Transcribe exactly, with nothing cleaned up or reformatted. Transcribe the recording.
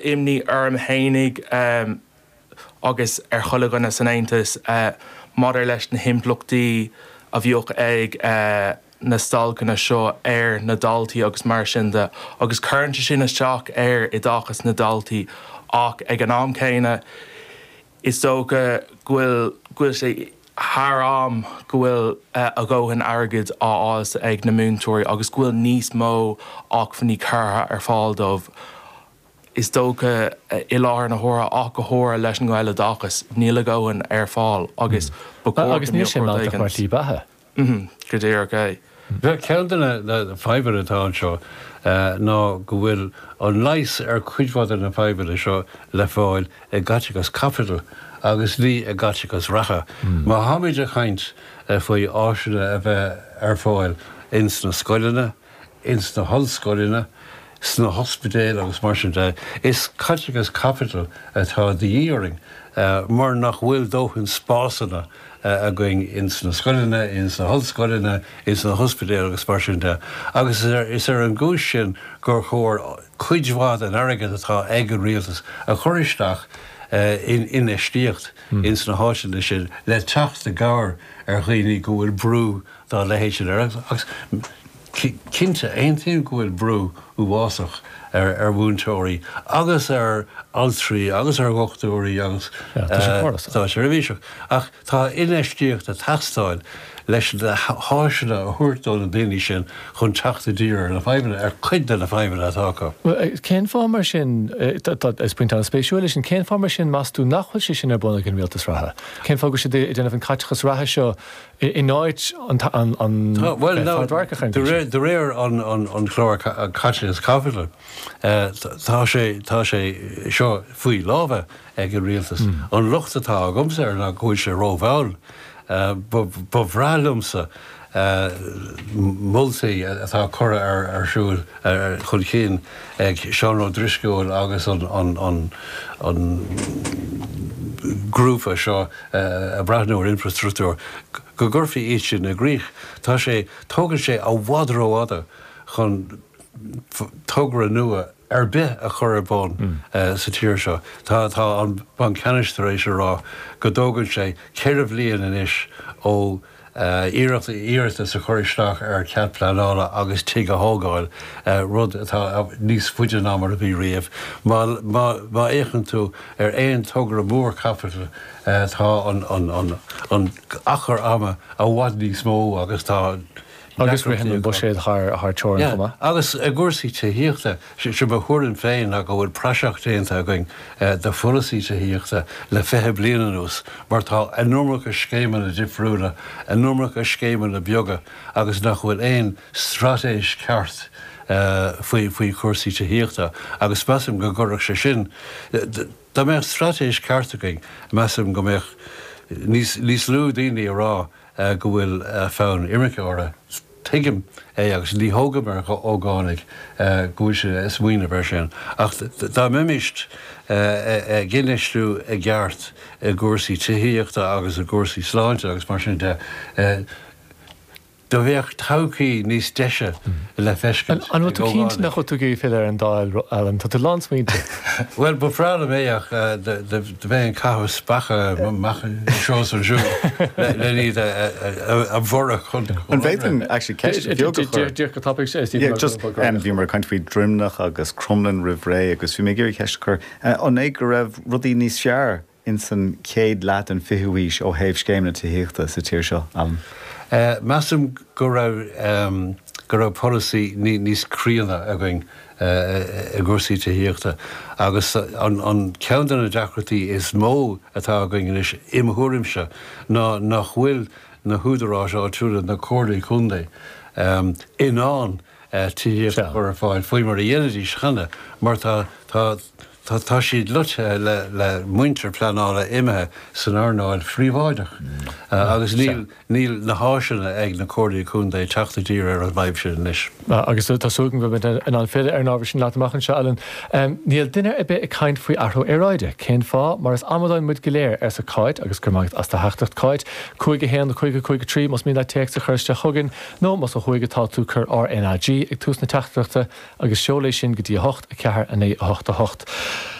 Imní orm fhéinig um, agus ar chuile dhuine san Aontas uh, maidir leis na himpleachtaí a bheadh ag uh, na stailceanna seo ar na daltaí agus mar sin de agus cuireann sé sin isteach ar oideachas na ndaltaí ach ag an am céanna is dócha go bhfuil go bhfuil sé thar am go bhfuil uh, a ndóthain airgid á fháil ag na múinteoirí agus go bhfuil níos mó acmhainní curtha ar fáil dóibh. Is dócha i láthair na huaire ach go háirithe leis an nGaeloideachas níl a ndóthain ar fáil agus agus níl sé mealltach mar shlí beatha. Go díreach é. Ceann de na fadhbanna atá anseo ná go bhfuil an leigheas ar chuid mhaith de na fadhbanna seo le fáil i gcaiteachas caipitil agus ní i gcaiteachas reatha. Má tháimid ag caint faoi áiseanna a bheith ar fáil ins na scoileanna, ins na hollscoileanna, sna hospidéil agus mar sin de, is caiteachas caipitil atá de dhíth orainn mar nach bhfuil dóthain spásanna againn ins na scoileanna, ins na hollscoileanna, ins na hospidéil agus mar sin de. Agus is ar an gcúis sin gur chóir cuid mhaith den airgead atá ag an rialtas a chur isteach in infheistíocht ins na háiteanna sin le teacht i gcabhair ar dhaoine go bhfuil brú dá leithéid sin air. Agus cinnte aontaím go bhfuil brú uafásach ar ar mhúinteoirí agus ar altraí agus ar dhochtúirí agus státseirbhíseach. Ach tá infheistíocht ag teastáil leis na háiseanna a thabhairt do na daoine sin chun teacht i dtír ar na fadhbanna ar cuid de na fadhbanna atá acu. Cén fáth mar sin is pointe an-spéisiúil é sin cén fáth mar sin meas tú nach bhfuil sé sin ar bun ag an rialtas reatha? Cén fáth go bhfuil siad ag déanamh an caiteachas reatha seo in áit an De réir an chlár caiteachas caipitil tá sé tá sé seo faoi lámha ag an rialtas. An locht atá agamsa air ná go bhfuil sé rómhall. Ba bhreá liomsa moltaí atá curtha ar ar siúl chun cinn ag Seán Ó Drisceoil agus an an an grúpa seo ag breathnú ar infrastruchtúr go gcuirfí iad sin i gcrích. Tá sé tógann sé i bhfad rófhada chun togra nua ar bith a chur ar bun sa tír seo. Tá tá an Banc Ceannais tar éis a rá go dtógann sé ceithre bhliain anois ó iarracht iarratas a chur isteach ar chead pleanála agus tigh a thógáil, rud atá níos faide ná mar a bhí riamh. Má má má fhéachann tú ar aon togra mór caipitil tá an an an an achar ama i bhfad níos mó agus tá Agus ritheann an buiséad thar thar teorainn chomh maith. Agus i gcúrsaí tithíochta, sé mo thuairim féin ná go bhfuil praiseach déanta againn de pholasaí tithíochta le fiche bliain anuas, mar tá an iomarca scéimeanna difriúla, an iomarca scéimeanna beaga agus nach bhfuil aon straitéis ceart faoi faoi chúrsaí tithíochta agus measaim go gcuirfeadh sé sin, dá mbeadh straitéis ceart againn, measaim go mbeadh níos níos lú daoine ag rá go bhfuil fonn imirce orthu. Tuigim é agus ní thógaim ar ógánaigh go bhfuil siad ag smaoineamh air sin. Ach dá mbeimis ag infheistiú i gceart i gcúrsaí tithíochta agus i gcúrsaí sláinte agus mar sin de, do bheadh todhchaí níos deise le feiscint An bhfuil tú cinnte nach bhfuil tú ag iarraidh filleadh ar an Dáil, Alan? Tá tú lán smaointe. Bhuel, ba bhreá liom é ach do bheinn ag caitheamh speacha amach anseo is ansiúd le iad a bhorradh chun An bhféadfainn actually ceist bheag a chur? Díreach go tapaidh, Stephen. Yeah, just bhíomar ag caint faoi Droimneach agus Cromghlinn roimh ré agus bhí mé ag iarraidh ceist a chur. An é go raibh rudaí níos fearr ins an chéad leath den fichiú haois ó thaobh scéimeanna tithíochta sa tír seo, Alan? Measaim go raibh go raibh polasaí níos críonna againn i gcúrsaí tithíochta agus an an ceann de na deacrachtaí is mó atá againn anois, i mo thuairimse, ná nach bhfuil na húdaráis áitiúla, na comhairlí contae, in ann tithíocht a chur ar fáil faoi mar a dhéanaidís cheana mar tá tá tá tá siad loitithe le le muintir pleanála imithe san earnáil phríobháideach agus níl níl na háiseanna ag na comhairlí contae teacht i dtír ar an bhfadhb sin anois. Agus tá súil agam go mbeidh in ann filleadh ar an ábhar sin leat amach anseo, Alan. Níl duine ar bith ag caint faoi athrú aeráide. Cén fáth? Mar is amadáin muid go léir, arsa Cáit, agus go raibh maith agat as do theachtaireacht, Cáit. Cúig a haon, cúig a cúig a trí, más mian leat téacs a chur isteach chugainn, nó más ó thuaidh atá tú, cuir RNAG ag tús na teachtaireachta agus seol é sin go dtí a hocht, a ceathair, a naoi, a hocht, a hocht.